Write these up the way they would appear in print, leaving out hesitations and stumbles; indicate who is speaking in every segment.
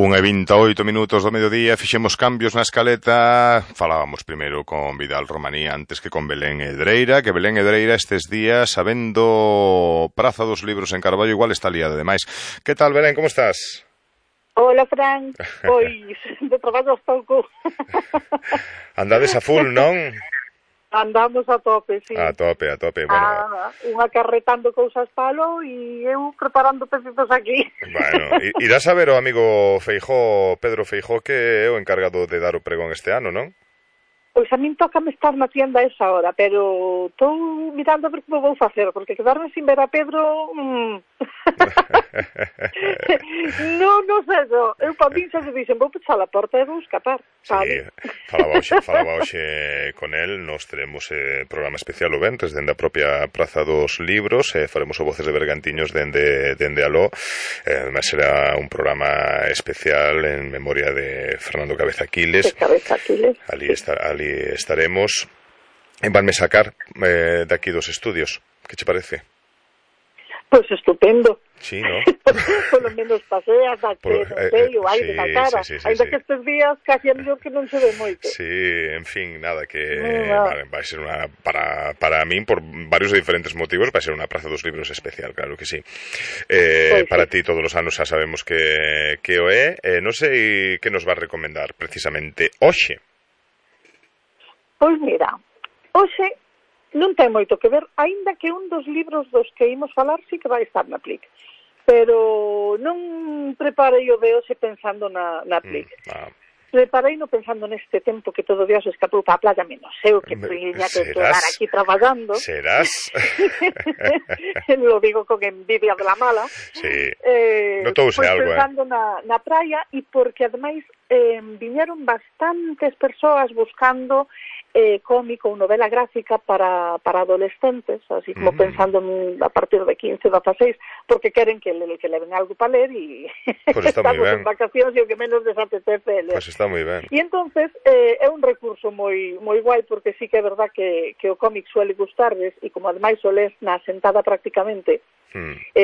Speaker 1: 1:28 do mediodía, fixemos cambios na escaleta. Falábamos primeiro con Vidal Romaní antes que con Belén Hedreira, que Belén Hedreira estes días, sabendo Praza dos Libros en Carballo, igual está liada demais. Que tal, Belén, como estás?
Speaker 2: Hola, Fran. Pois, de traballo hasta o cu.
Speaker 1: Andades a full, non?
Speaker 2: Andamos a tope, sí.
Speaker 1: A tope, bueno.
Speaker 2: Unha carretando cousas palo e eu preparando pecitos aquí.
Speaker 1: Bueno, irás a ver o amigo Feijóo, Pedro Feijóo, que é o encargado de dar o pregón este ano, non?
Speaker 2: Pois a min tócame estar na tienda a esa hora, pero estou mirando a ver como vou facer, porque quedarme sin ver a Pedro... non sei, eu para min xa se dixen, vou pechar a porta e vou escapar.
Speaker 1: Sí, falaba hoxe con el, nos teremos programa especial o ventres dende a propia Praza dos Libros, faremos o Voces de Bergantiños dende aló, además será un programa especial en memoria de Fernando Cabeza Aquiles. Ali estaremos. Vanme sacar de aquí dos estudios, que che parece?
Speaker 2: Pois estupendo.
Speaker 1: Sí, ¿no?
Speaker 2: Polo menos paseas, non sei, o aire na cara. Ainda que estes días casi é mellor que non se ve moito.
Speaker 1: Sí, en fin, nada, que vai ser unha, para min, por varios diferentes motivos, vai ser unha Praza dos Libros especial, claro que sí. Para ti todos os anos xa sabemos que o é. Non sei que nos vas recomendar precisamente hoxe.
Speaker 2: Pois mira, hoxe non ten moito que ver, aínda que un dos libros dos que imos falar sí que vai estar na Plic. Pero non preparei o de hoxe pensando na Plic. Prepareino pensando neste tempo que todo Dios escapou para a playa, menos eu que tiña que quedar aquí traballando.
Speaker 1: Serás?
Speaker 2: Lo digo con envidia de la mala.
Speaker 1: Sí, notouse
Speaker 2: pues
Speaker 1: algo,
Speaker 2: pensando na praia, e porque ademais viñeron bastantes persoas buscando cómico ou novela gráfica para adolescentes, así como pensando a partir de 15, 16, porque queren que leven algo para ler e
Speaker 1: pues
Speaker 2: estamos en vacacións e o que menos desapetece ler.
Speaker 1: Pues está moi ben.
Speaker 2: E entonces é un recurso moi guai, porque sí que é verdad que o cómic suele gustarles, e como ademais o les na sentada prácticamente,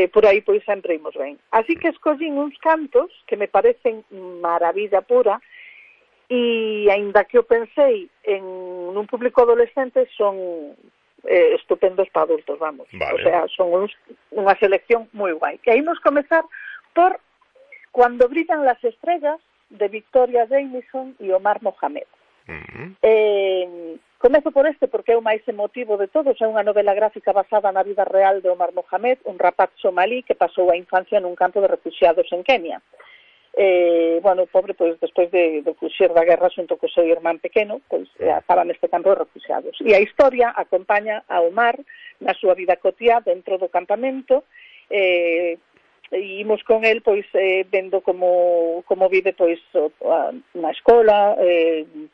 Speaker 2: por aí pois sempre imos ben. Así que escollín uns cantos que me parecen maravilla pura, e aínda que eu pensei en un público adolescente, son estupendos para adultos, vamos.
Speaker 1: Vale.
Speaker 2: O sea, son unha selección moi guai. E aí nos comezar por Cuando brillan las estrellas, de Victoria Jamieson e Omar Mohamed. Comezo por porque é o máis emotivo de todos. É unha novela gráfica basada na vida real de Omar Mohamed, un rapaz somalí que pasou a infancia nun campo de refugiados en Kenia. O pobre, pois, despois de fuxir da guerra xunto co seu irmán pequeno, pois, estaba neste campo de refugiados. E a historia acompaña a Omar na súa vida cotiá dentro do campamento, e imos con el, pois, vendo como vive, pois, na escola,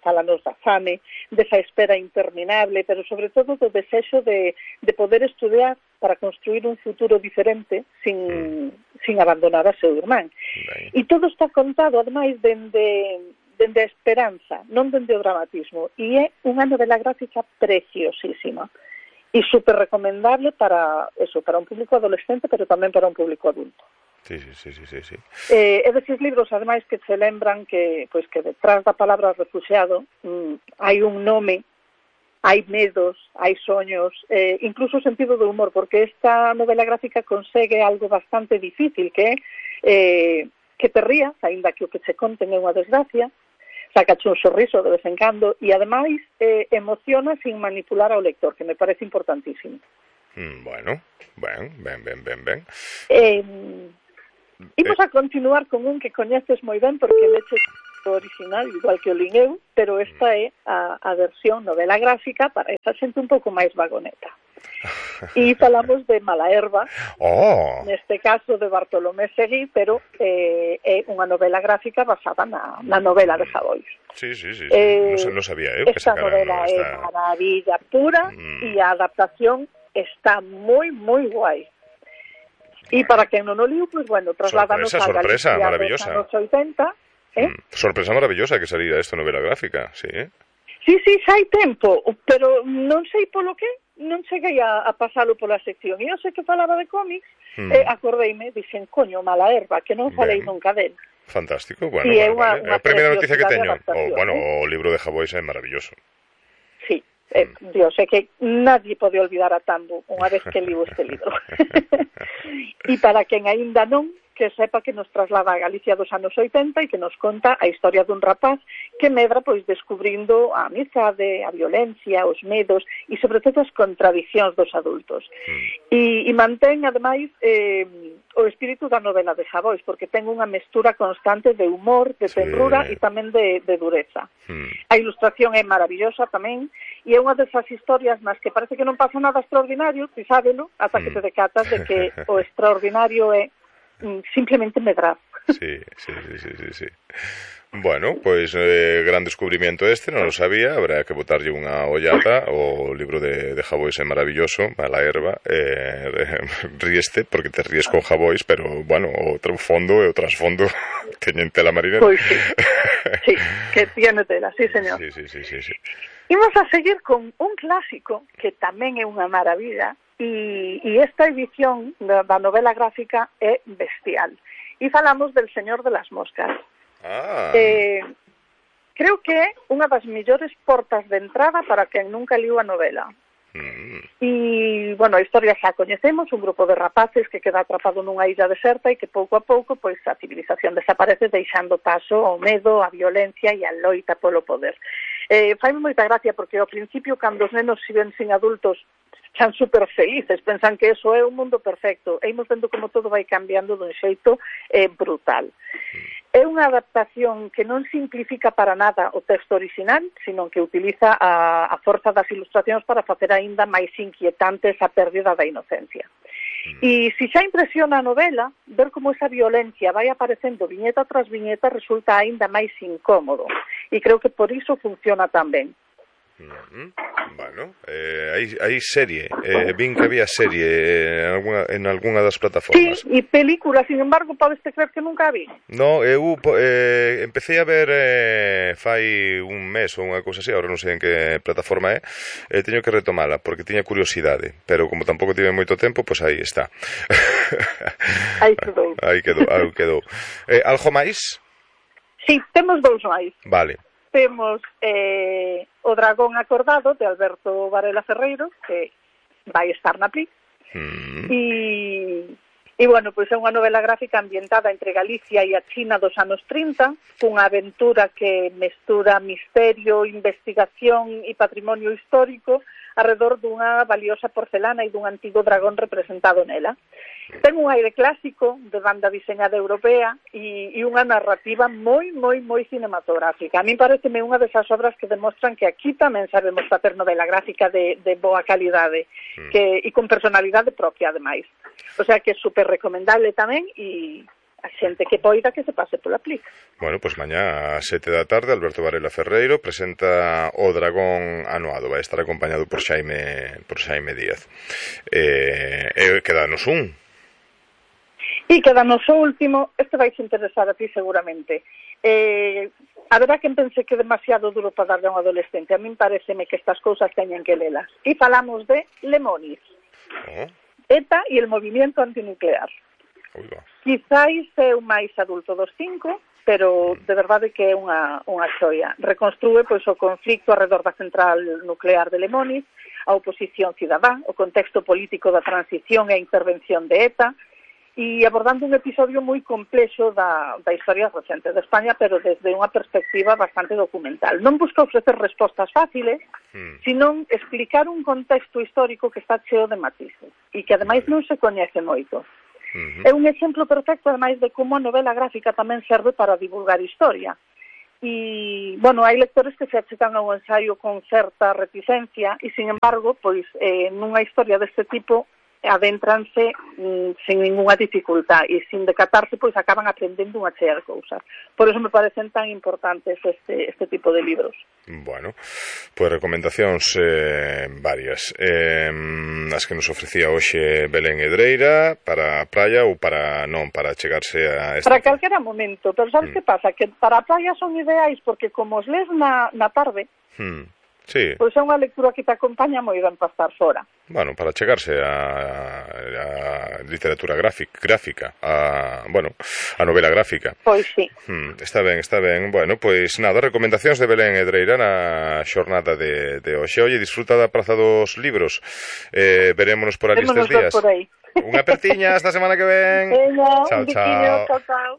Speaker 2: falanos da fame, desa espera interminable, pero sobre todo do desexo de poder estudiar para construir un futuro diferente sin abandonar a seu irmán. E todo está contado, ademais, dende a esperanza, non dende o dramatismo. E é unha novela gráfica preciosísima e super recomendable para un público adolescente, pero tamén para un público adulto.
Speaker 1: Sí.
Speaker 2: É deses libros, ademais, que se lembran que detrás da palabra refugiado hai un nome, hai medos, hai soños, incluso sentido do humor, porque esta novela gráfica consegue algo bastante difícil, que é que te rías, aínda que o que che conten é unha desgracia, sacache un sorriso de vez en cando, e ademais emociona sin manipular ao lector, que me parece importantísimo.
Speaker 1: Bueno, ben.
Speaker 2: Imos a continuar con un que coñeces moi ben, porque leches o original, igual que o lin eu, pero esta é a versión novela gráfica para esa xente un pouco máis vagoneta. E falamos de Malaherba, neste caso de Bartolomé Seguí, pero é unha novela gráfica basada na novela de Sabois.
Speaker 1: Sí. Non sabía eu que
Speaker 2: esta novela é maravilla pura, e a adaptación está moi guai. E para quen non o liu, pois, trasladanos a Galicia dos anos 80.
Speaker 1: Sorpresa maravillosa que salira esta novela gráfica, sí.
Speaker 2: Sí, xa hai tempo, pero non sei polo que non cheguei a pasalo pola sección. E eu sei que falaba de cómics, acordeime, dixen, coño, Malaherba, que non falei nunca del.
Speaker 1: Fantástico, bueno, vale. A primeira noticia que teño, o libro de Javois é maravilloso.
Speaker 2: Sí, Dios, é que nadie pode olvidar a Tambo unha vez que liu este libro. E para quen aínda non, que sepa que nos traslada a Galicia dos anos 80 e que nos conta a historia dun rapaz que medra pois descubrindo a amizade, a violencia, os medos e sobre todo as contradicións dos adultos. E mantén, ademais, o espírito da novela de Javois, porque ten unha mestura constante de humor, de tenrura e tamén de dureza. A ilustración é maravillosa tamén, e é unha desas historias nas que parece que non pasa nada extraordinario, ti sábelo, ata que te decatas de que o extraordinario é simplemente medrar.
Speaker 1: Sí. Bueno, pois gran descubrimiento este, non lo sabía, habrá que botarlle unha ollada. O libro de Javois é maravilloso, Mala Herba, ríeste porque te ríes con Javois, pero, bueno, o fondo e o trasfondo teñen tela marinera.
Speaker 2: Pois sí, que tiene tela, sí, señor.
Speaker 1: Sí.
Speaker 2: Imos a seguir con un clásico que tamén é unha maravilla. E esta edición da novela gráfica é bestial. E falamos del Señor de las Moscas. Creo que é unha das mellores portas de entrada para quen nunca liu a novela. E, bueno, a historia xa coñecemos, un grupo de rapaces que queda atrapado nunha illa deserta e que pouco a pouco pois a civilización desaparece deixando paso ao medo, a violencia e a loita polo poder. Faime moita gracia porque ao principio cando os nenos se ven sin adultos están super felices, pensan que eso é un mundo perfecto, e imos vendo como todo vai cambiando dun xeito brutal. É unha adaptación que non simplifica para nada o texto original, sino que utiliza a forza das ilustracións para facer aínda máis inquietante esa pérdida da inocencia. E se xa impresiona a novela, ver como esa violencia vai aparecendo viñeta tras viñeta resulta aínda máis incómodo, e creo que por iso funciona tan ben.
Speaker 1: Bueno, hai serie, vin que había serie en algunha das plataformas.
Speaker 2: Sí, e película, sin embargo, podes creer que nunca a vi.
Speaker 1: No, eu empecé a ver fai un mes ou unha cousa así, agora non sei en que plataforma é, teño que retomala porque tiña curiosidade, pero como tampouco tive moito tempo, pois aí está. Aí quedou. Algo máis?
Speaker 2: Sí, temos dous máis.
Speaker 1: Vale.
Speaker 2: Temos O dragón acordado, de Alberto Varela Ferreiro, que vai estar na Pli. E, bueno, pois é unha novela gráfica ambientada entre Galicia e a China dos anos 30, cunha aventura que mestura misterio, investigación e patrimonio histórico arredor dunha valiosa porcelana e dun antigo dragón representado nela. Ten un aire clásico de banda diseñada europea e unha narrativa moi cinematográfica. A min pareceme unha desas obras que demostran que aquí tamén sabemos facer novela gráfica de boa calidade e con personalidade propia, ademais. O sea que é super recomendable tamén e a xente que poida que se pase pola Pli.
Speaker 1: Bueno, pois mañá a 7 da tarde Alberto Varela Ferreiro presenta O dragón anuado, vai estar acompañado por Xaime Díaz. Quedanos un.
Speaker 2: E quedanos o último, este vais interesar a ti seguramente. A verdad que pense que é demasiado duro para darle a un adolescente. A min pareceme que estas cousas teñen que lelas. E falamos de Lemonis. ETA e el movimiento antinuclear. Quizáis é o máis adulto dos 5, pero de verdade que é unha xoia. Reconstrúe pois o conflicto arredor da central nuclear de Lemonis, a oposición cidadá, o contexto político da transición e a intervención de ETA, e abordando un episodio moi complexo da historia recente de España, pero desde unha perspectiva bastante documental. Non busca ofrecer respostas fáciles, sino explicar un contexto histórico que está cheo de matices, e que ademais non se coñece moito. É un exemplo perfecto, ademais, de como a novela gráfica tamén serve para divulgar historia. E, bueno, hai lectores que se achegan ao ensaio con certa reticencia e, sin embargo, pois, nunha historia deste tipo adéntranse sin ninguna dificultad e sin decatarse, pois acaban aprendendo unha chea de cousas. Por eso me parecen tan importantes este tipo de libros.
Speaker 1: Bueno, pois recomendacións varias. As que nos ofrecía hoxe Belén Edreira para a praia ou para chegarse a
Speaker 2: para calquera momento, pero sabes que pasa? Que para a praia son ideais porque como os lees na tarde,
Speaker 1: Sí.
Speaker 2: Pois é unha lectura que te acompaña moi ben para estar fora.
Speaker 1: Bueno, para chegarse a literatura gráfica, a novela gráfica.
Speaker 2: Pois sí.
Speaker 1: Está ben. Bueno, pois nada, recomendacións de Belén Edreira na xornada de hoxe. Oye, disfruta da Praza dos Libros. Verémonos por ali estes días.
Speaker 2: Por aí.
Speaker 1: Unha apertiña esta semana que ven.
Speaker 2: Venga,
Speaker 1: chao,
Speaker 2: un biquiño, chao.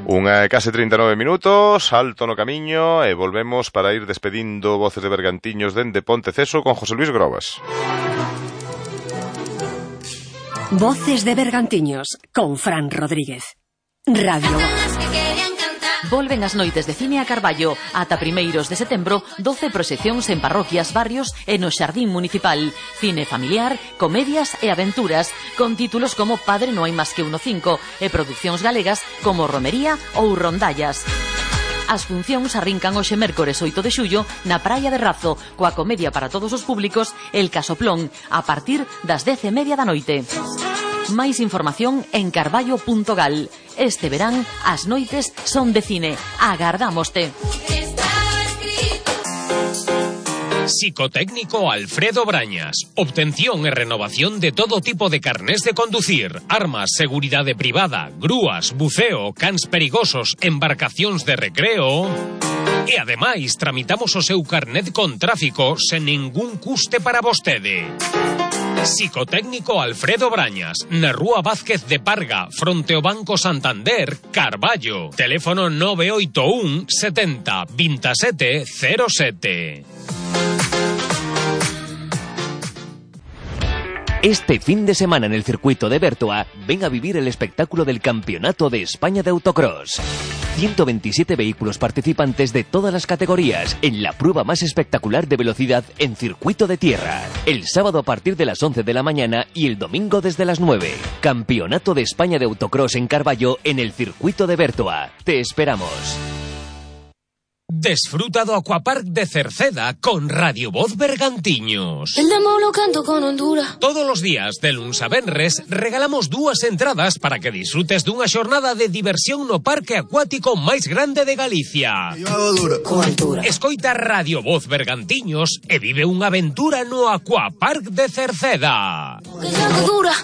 Speaker 1: Unha case 39 minutos, alto no camiño e volvemos para ir despedindo Voces de Bergantiños dende Ponteceso con José Luis Grobas.
Speaker 3: Voces de Bergantiños con Fran Rodríguez. Radio Voz.
Speaker 4: Volven as noites de cine a Carballo. Ata primeiros de setembro, 12 proxeccións en parroquias, barrios e no xardín municipal. Cine familiar, comedias e aventuras, con títulos como Padre no hai máis que uno 5 e producións galegas como Romería ou Rondallas. As funcións arrincan hoxe mércores 8 de xullo na Praia de Razo, coa comedia para todos os públicos El Casoplón, a partir das 10:30 da noite. Máis información en carballo.gal. Este verán, as noites son de cine. Agardámoste.
Speaker 5: Psicotécnico Alfredo Brañas. Obtención e renovación de todo tipo de carnés de conducir, armas, seguridade privada, grúas, buceo, cans perigosos, embarcacións de recreo. E ademais, tramitamos o seu carnet con tráfico sen ningún custe para vostede. Psicotécnico Alfredo Brañas, na Rúa Vázquez de Parga, fronte ao Banco Santander, Carballo. Teléfono 981 70 27 07.
Speaker 6: Este fin de semana en el circuito de Bertoa, ven a vivir el espectáculo del Campeonato de España de Autocross. 127 vehículos participantes de todas las categorías en la prueba más espectacular de velocidad en circuito de tierra. El sábado a partir de las 11 de la mañana y el domingo desde las 9. Campeonato de España de Autocross en Carballo en el circuito de Bertoa. Te esperamos.
Speaker 5: Desfruta do Aquapark de Cerceda con Radio Voz Bergantiños.
Speaker 7: El demo lo canto con Honduras.
Speaker 5: Todos os días, de luns a venres, regalamos 2 entradas para que disfrutes dunha xornada de diversión no parque acuático máis grande de Galicia.
Speaker 7: Con altura.
Speaker 5: Escoita Radio Voz Bergantiños e vive unha aventura no Aquapark de Cerceda.
Speaker 7: Que sea dura.